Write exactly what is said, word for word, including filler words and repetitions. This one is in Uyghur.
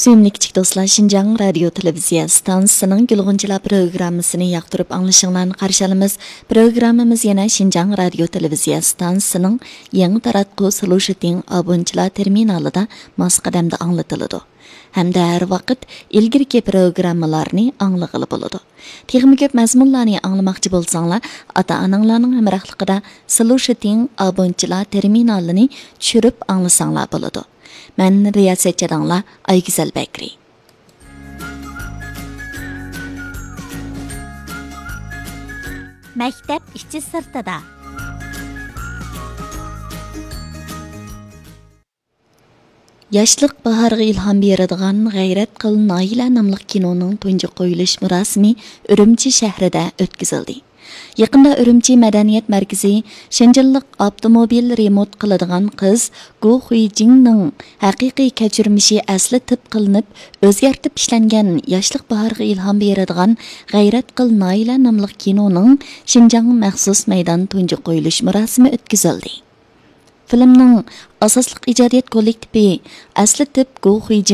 سۆيۈملۈك كىچىك دوستلار، شىنجاڭ رادىيو تېلېۋىزىيە ئىستانسىسىنىڭ گۈلغۇنچىلار پروگراممىسىنى ياقتۇرۇپ ئاڭلىشىڭلارنى قارشى ئالىمىز. پروگراممىمىز يەنە شىنجاڭ رادىيو تېلېۋىزىيە ئىستانسىسىنىڭ يېڭى تاراتقۇ سلۇشىتىڭ ئابۇنچىلار تېرمىنالىدا ماس قەدەمدە ئاڭلىتىلىدۇ ھەمدە ھەر ۋاقىت ئىلگىرىكى پروگراممىلارنى ئاڭلىغىلى بولىدۇ. تېخىمۇ كۆپ مەزمۇنلارنى ئاڭلىماقچى بولساڭلار، ئاتا-ئاناڭلارنىڭ ھەمراھلىقىدا سلۇشىتىڭ ئابۇنچىلار تېرمىنالىنى چۈشۈرۈپ ئاڭلىساڭلار بولىدۇ. مەن رىياسەتچى ئاداڭلار ئايگۈزەل بەكرى. مەكتەپ ئىچى سىرتىدا. ياشلىق باھارغا ئىلھام بېرىدىغان غەيرەت قىل نايلە ناملىق كىنونىڭ تۇنجى قويۇلۇش مۇراسىمى ئۈرۈمچى شەھىرىدە ئۆتكۈزۈلدى. يېقىندا ئۈرۈمچى مەدەنىيەت مەركىزى شىنجىنلىق ئاپتوموبىل رېمونت قىلىدىغان قىز گو خۇيجىڭنىڭ ھەقىقىي كەچۈرمىشى ئەسلىتىپ قىلىنىپ، ئۆزگەرتىپ ئىشلەنگەن ياشلىق باھارغا ئىلھام بېرىدىغان غەيرەت قىل نايلە ناملىق كىنونىڭ شىنجاڭ مەخسۇس مەيدان تۇنجى قويۇلۇش مۇراسىمى ئۆتكۈزۈلدى. فىلىمنىڭ ئاساسلىق ئىجادىيەت كوللېكتىپى ئەسلىتىپ گو خۇيجىڭ